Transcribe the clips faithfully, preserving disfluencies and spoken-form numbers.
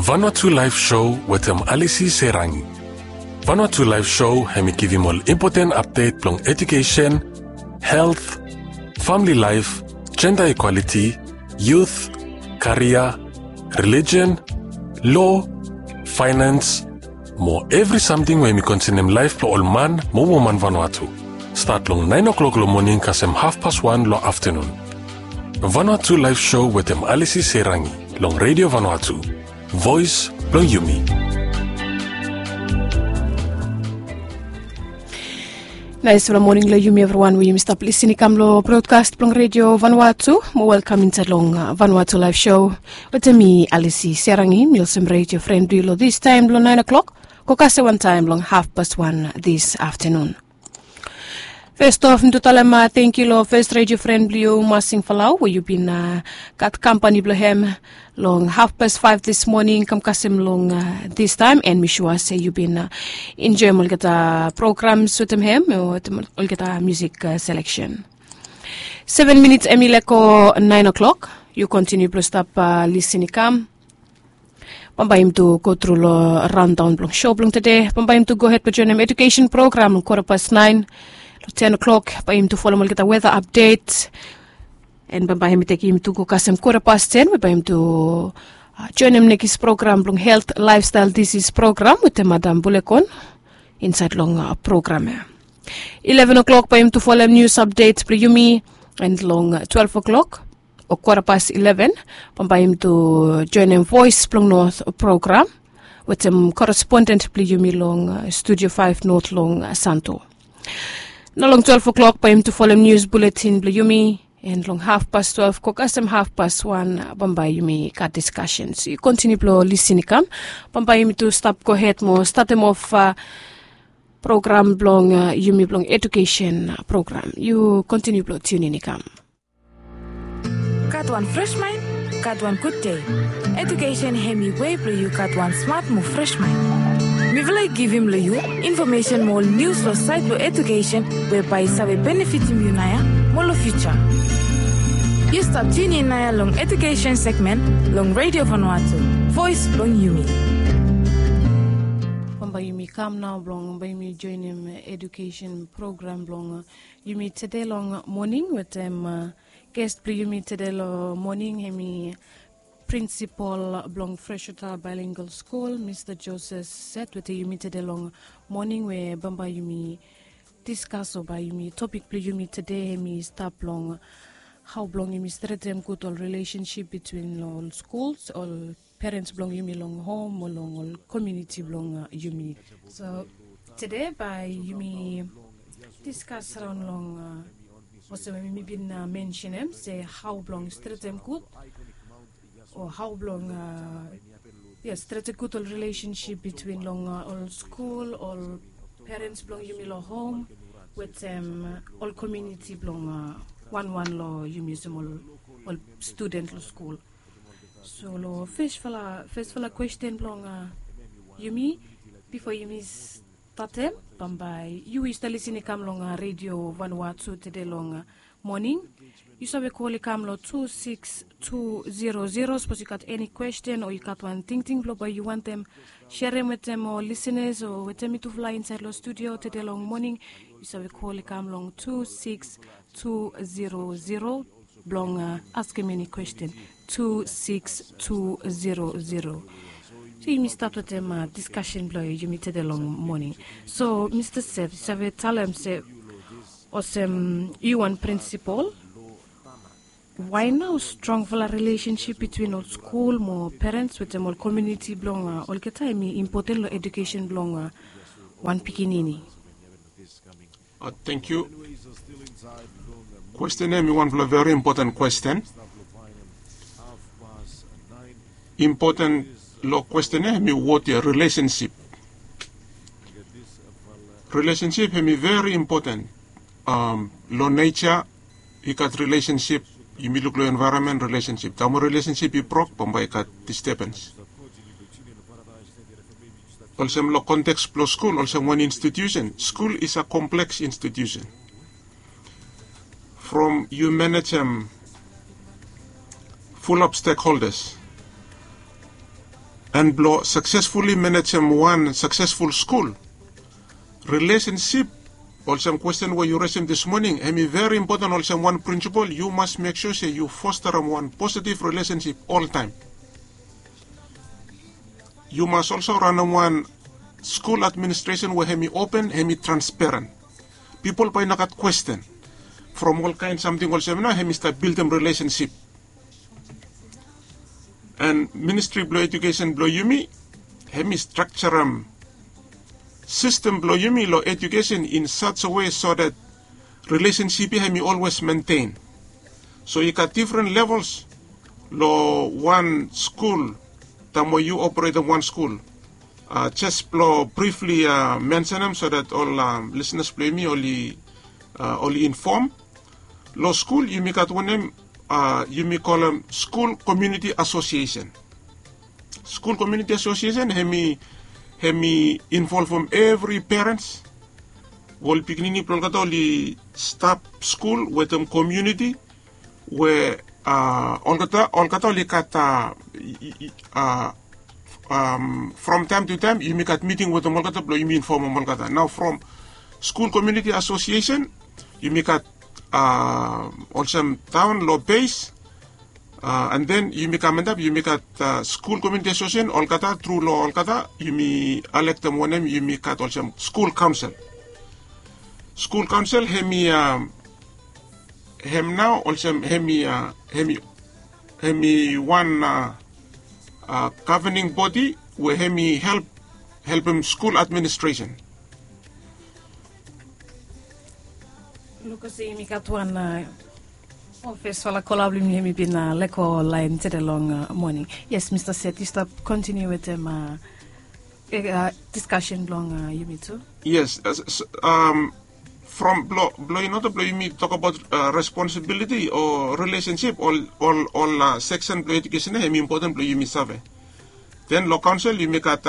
Vanuatu Live Show wetem Alisi Serangi. Vanuatu Live Show hemi givim ol impoten apdet blong edukesen, helt, famili laef, jenda ikwaliti, yut, karia, relijen, lo, faenans, mo evri samting we hemi konsenem laef blong ol man mo woman Vanuatu. Stat long naen o'klok long moning kasem hafpas wan long aftenun. Vanuatu Live Show wetem Alisi Serangi long Redio Vanuatu, voes blong yumi. Naesfala moning long yumi evriwan we yumi stap lisin i kam long brodkas blong Redio Vanuatu. Mo welkam insaed long Vanuatu Live Show wetem mi, Alisi Serangi. Mi olsem redio fren blong yu long distaem long naen o'klok go kasem wantaem long hafpas wan dis aftenun. Fes of mi tu talem tangkiu long fes redio fren blong yu, Masing Falau, we yu bin gat kampani blong hem long hafpas faef dis moning kam kasem long distaem, and mi sua se yu bin enjoem olgeta programs wetem hem, wetem olgeta musik seleksen. Seven minits hemi lego naen o'klok. Yu kontiniu blong stap lisin i kam. Bambae yumi tu gotru long raondaon blong sou blong tede. Bambae yumi tu gohed blong joenem edukesen program long kwota pas naen. Long ten o'klok bae yumi tu folem olgeta weta apdet. And bambae hemi tekem yumi tu go kasem kwota pas ten we bae yumi tu joenem nekis program blong helt, laefstael disis program wetem Madam Bulekon insaed long program ya. Ileven o'klok bae yumi tu folem nius apdet blong yumi. And long twelve o'klok o kwota pas ileven, bambae yumi tu joenem Voes blong Not program wetem koresponden blong yumi long Studio Faef Not long Santo. Nao long twelve o'klok bae yumi tu folem nius buletin blong yumi, and long hafpas twelve go kasem hafpas wan bambae yumi gat diskasen. So yu kontiniu blong lisin i kam. Bambae yumi tu stap gohed mo statem of program blong yumi blong edukesen program. Yu kontiniu blong tiunin i kam. Gat wan fres maen, gat wan gud dei. Edukesen hemi wei blong yu gat wan smat mo fres maen. Mifala i givim long yu infomesen mo ol nius long saed blong edukesen we bae i save benefitim yu naoia mo long fiuja. Yu stap tiunin naoia long edukesen segmen long Redio Vanuatu, voes blong yumi. Bambae yumi kam nao blong bae yumi joenem edukesen program blong yumi tede long moning wetem ges blong yumi tede long moning hemi prinsipol blong Freshwater Bilingual School, Mista Joseph Set, wetem yumi tede long moning we bambae yumi diskas o bae yumi topik blong yumi tede hemi stap long hao blong yumi stretem gud ol rilesensip bitwin ol skuls, ol perens blong yumi long hom o long ol komuniti blong yumi. So tede bae yumi diskas raon long olsem we mi bin mensenem se hao blong stretem gud o hao blong, yes, stretem gud ol rilesensip bitwin long ol skul, ol perens blong yumi long hom wetem ol komuniti blong wanwan long yumi olsem ol studen long skul. So long fesfala fesfala kwesten blong yumi bifo yumi statem, bambae yu we yu stap lisin i kam long Redio Vanuatu tede long moning, yu save kol i kam long tu sikis tu zero zero sapos yu gat eni kwesten o yu gat wan tingting blong bae yu wantem serem wetem ol lisinas o wetem mitufala insaed long studio tede long moning. Yu save kol i kam long tu sikis tu zero zero blong askem eni kwesten. Tu sikis tu zero zero. So yumi stat wetem diskasen blong yumi tede long moning. So Mista Seth, yu save talem se olsem yu wan prinsipol, wae nao strongfala rilesensip bitwin ol skul mo perens wetem ol komuniti blong olgeta hemi impoten long edukesen blong wan pikinini? Tangkiu. Kwesten ya hemi wanfala veri impoten kwesten. Impoten long kwesten ya hemi wod ya, rilesensip. Rilesensip hemi veri impoten. Long neja i gat rilesensip, yumi luk long envaeronmen, rilesensip. Taem rilesensip i brok, bambae i gat distebens. Olsem long konteks blong skul, olsem wan institusen, skul is a kompleks institusen. From yu manejem fulap stekholdas, An blong saksesfuli manejem wan saksesful skul, rilesensip, olsem kwesten we yu resem dis moning, hemi veri impoten. Olsem wan prinsipol, yu mas mek sua se yu fosterem wan positiv rilesensip oltaem. Yu mas olso ranem wan skul administresen we hemi open, hemi transparen. Pipol bae i no gat kwesten from olkaen samting olsem nao, hemi stap bildim rilesensip. An ministri blong ejukesen blong yumi, hemi strakjarem sistem blong yumi long ejukesen in such a way so that rilesensip ya hemi olwes mentein. So i gat difren levels long wan skul, taem we yu operetem wan skul. Jes blong brifli mensenem so that ol lisnas blong yumi oli infom. Long skul yumi gat wanem yumi kolem skul komuniti asosiesen. Skul komuniti asosiesen hemi, hemi involvem evri perens we ol pikinini blong olgeta oli stap skul wetem komuniti we olgeta, olgeta oli gat from taem tu taem yumi gat miting wetem olgeta blong yumi infomem olgeta. Nao from skul komuniti asosiesen yumi gat olsem taon long bes, an den yumi kam antap yumi gat skul komuniti asosiesen olgeta, tru long olgeta yumi elektem wanem yumi gat olsem skul kaonsel. Skul kaonsel hemi hem nao olsem hemi, hemi wan govening bodi we hemi help, helpem skul administresen. Luk olsem yumi gat wan ofisfala kola blong yumi, hemi bin lego laen tede long moning. Yes, Mista Set, yu stap kontiniu wetem diskasen blong yumi tu. Yes, from blong, blong in oda blong yumi tokbaot responsibiliti o rilesensip, ol, ol, ol seksen blong ejukesen ya hemi impoten blong yumi save. Den long kaonsel yumi gat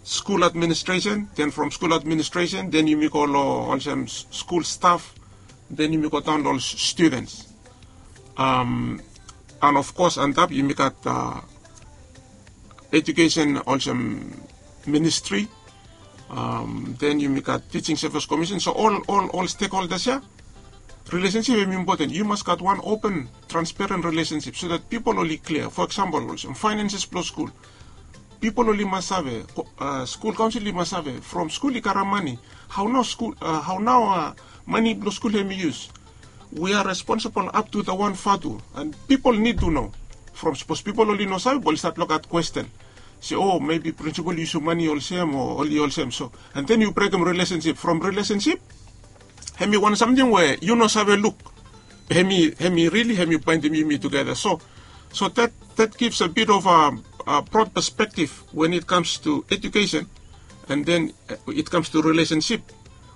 skul administresen, den from skul administresen den yumi go long olsem skul staf, den yumi go daon long ol studens. An of kos antap yumi gat ejukesen olsem ministri, den yumi gat tijing sevis komisen. So ol, ol, ol stekholdas ya, rilesensip hemi impoten. Yu mas gat wan open transparen rilesensip so that pipol oli klia. Fo eksampol olsem faenenses blong skul, pipol oli mas save, skul kaonsel i mas save from skul i karem mane. Hao nao skul, hao nao mane blong skul hemi yus? We are responsible up to the one fatu, and people need to know. From sapos pipol oli no save, oli stap long gat kwesten se o mebi prinsipol i yusum mane olsem o oli olsem. So and then yu brekem rilesensip. From rilesensip hemi wan samting we yu no save luk. Hemi, hemi rili hemi baendim yumi tugeta. So, so that, that gives a bit of a, a broad perspective when it comes to education, and then it comes to relationship.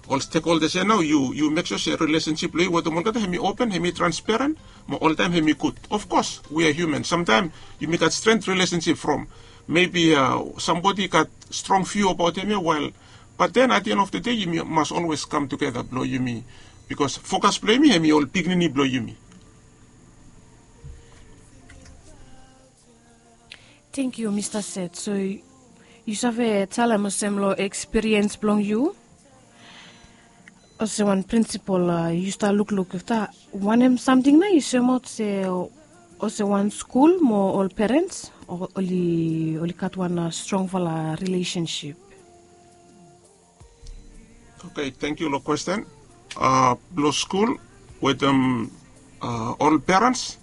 Ol stakeholders ya nao yu, yu mek sua se relationship blong yu wetem olgeta hemi open, hemi transparent, mo oltaem hemi gud. Of course we are human. Samtaem yumi gat strained relationship from maybe somebody gat strong view abaot hemia, while, but then at the end of the day yumi mas always kam tugeta blong yumi, bikos fokas blong yumi hemi ol pikinini blong yumi. Tangkiu Mista Set. So yu save talem olsem long ekspiriens blong yu olsem wan prinsipol, yu stap lukluk afta wanem samting nao yu soemaot se olsem wan skul mo ol perens oli, oli gat wan strongfala rilesensip. Oke, tangkiu long kwesten. Blong skul wetem ol perens.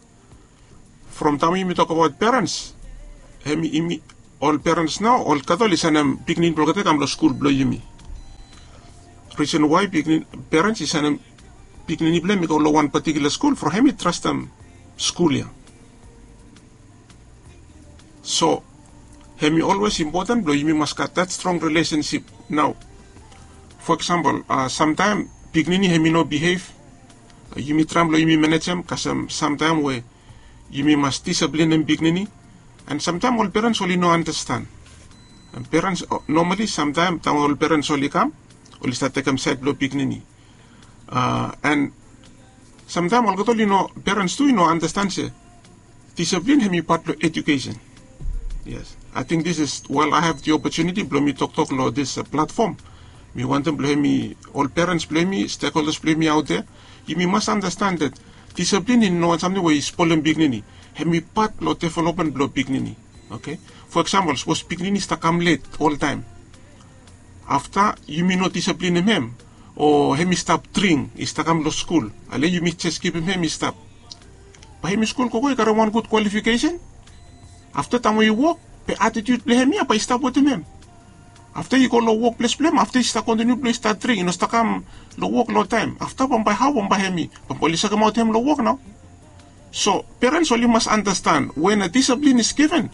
From taem yumi tokbaot perens, hemi, yumi, ol perens nao olgeta oli sanem pikinini blong olgeta i kam long skul blong yumi. Risen wae pikinini, perens i sanem pikinini blong hem i go long wan patikula skul from hemi trastem skul ya. So hemi olwes impoten blong yumi mas gat that strong relationship. Nao fo eksampol, samtaem pikinini hemi no bihev, yumi traem blong yumi manejem, kasem samtaem we yumi mas disiplinem pikinini. And samtaem ol perens oli no anastan. Perens nomali samtaem taem ol perens oli kam, oli stat tekem saed blong pikinini. And samtaem olgeta oli no, perens tu i no anastan se disiplin hemi pat blong ejukesen. Yes. Ating this is while I have the opportunity blong mi toktok long this platform, mi wantem blong hemi ol perens blong hemi, stakeholders blong hemi aut de, yumi mas andasten that disiplin i no wan samting we i spolem pikinini. Hemi pat blong developmen blong pikinini. Oke, fo eksampol sapos pikinini i stap kam let oltaem, afta yumi no disiplinem hem, o hemi stap dring i stap kam long skul, ale yumi jes givim hem i stap, bae hemi skul gogo i karem wan gud kwalifikesen. Afta taem we i wok, be atitiut blong hem ya bae i stap wetem hem. Afta i go long wokples blong hem, afta i stap kontiniu blong i stap dring, i no stap kam long wok long taem, afta bambae hao bambae hemi bambae oli sekemaot hem long wok nao. So perens oli mas andasten wen a disiplin is given,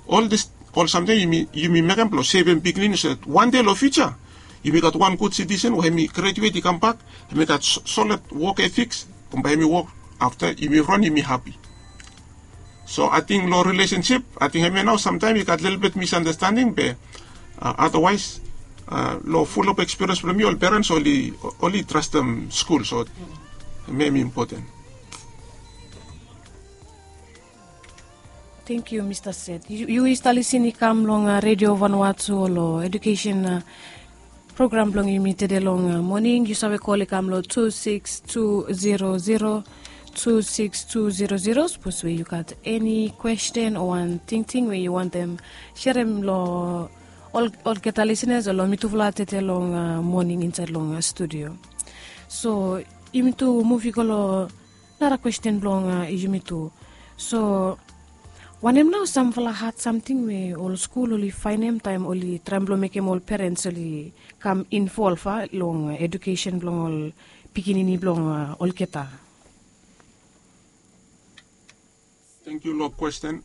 ol dis ol samting yumi mekem blong sevem pikinini so that wan dei long fiuja yumi gat wan gud sitisen we hemi graduet i kambak, hemi gat solid wok etiks, bambae hemi wok, afta yumi ron yumi hapi. So ating long rilesensip ating hemia nao samtaem i gat lelebet misandastending be, adawaes, long fulap ekspiriens blong mi ol perens oli trastem skul, so hemia hemi impoten. Tengkiu mista set. Yu i stap lisin i kam long redio vanua tu long edukesen program blong yumi tede long moning. Yu save kol i kam long tu siks tu zero zero, tu siks tu zero zero sapos we yu gat eni kwesten o wan tingting we yu wantem serem long olgeta lisinas o long mitufala tede long moning insaed long studio. So yumi tu muv i go long nara kwesten blong yumi tu. So wanem nao samfala had samting we ol skul oli faenem taem oli traem blong mekem ol perens oli kam involv a long edukesen blong ol pikinini blong olgeta? Tengkiu long kwesten.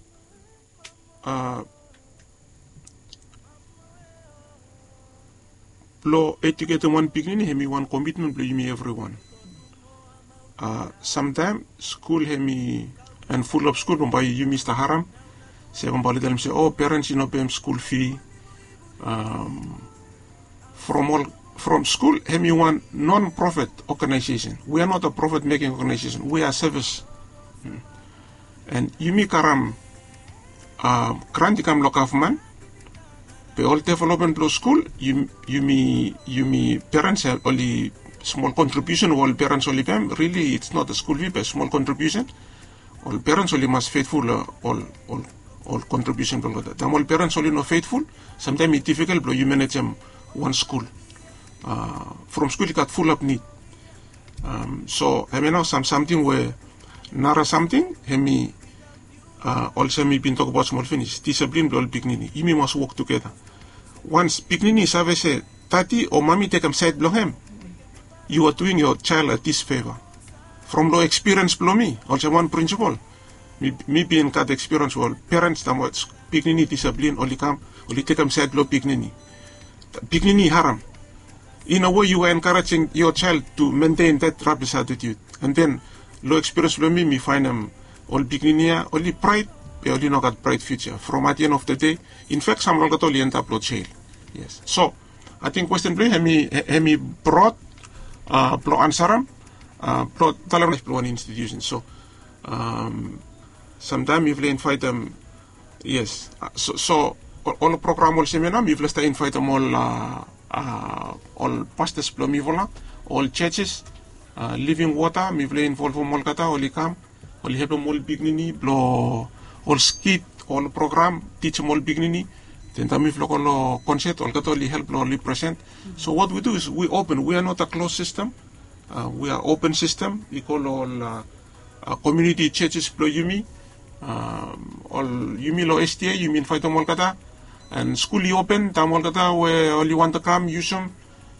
Blong ejuketem wan pikinini hemi wan komitmen blong yumi evriwan. Samtaem skul hemi, an fulap skul bambae yumi stap harem se bambae oli talem se o perens i no pem skul fi. From ol from skul hemi wan non profit ogenaesesen. We are not a profit meking ogenaesesen, we are sevis. An yumi karem gran i kam long gavman, be ol developmen blong skul yumi yumi perens oli smol kontribiusen we ol perens oli pem, rili its not a skul fi be smol kontribiusen. Ol perens oli mas fetful long ol ol kontribiusen blong olgeta. Taem ol perens oli no fetful, samtaem i difikel blong yu manejem wan skul from skul i gat fulap nid. So hemia nao sam samting we nara samting hemi olsem mi bin tokbaot smol finis, disiplin blong ol pikinini yumi mas wok tugeta. Wans pikinini i save se dadi o mami tekem saed blong hem, yu a duing yo jael a disfeva. From long ekspiriens blong mi olsem wan prinsipol, mi bin gat ekspiriens we ol perens taem we pikinini disiplin oli kam, oli tekem saed blong pikinini, pikinini i harem. In a we yu a enkarejing yo jael tu mentein dat rabis atitiut. An den long ekspiriens blong mi mi faenem ol pikinini ya oli braet, be oli no gat braet fiuja from at the end of the dei. Infak samfala olgeta oli endap long jel. Yes, so ating kwesten blong yu hemi brod blong ansarem blong talem laef blong wan institusen. So samtaem mifala invaetem, yes, so ol program olsem ya nao mifala stap invaetem ol ol pastas blong mifala, ol jejes, living wota mifala involvem olgeta oli kam, oli helpem ol pikinini blong ol skit, ol program tijim ol pikinini. Den taem mifala go long konset olgeta oli help blong oli present. So wat wi du is wi open, wi a not a klos sistem. Wi a open sistem i go long ol komiuniti jejes blong yumi. Ol yumi long sta yumi invaetem olgeta, an skul i open taem olgeta we oli wantem kam yusum.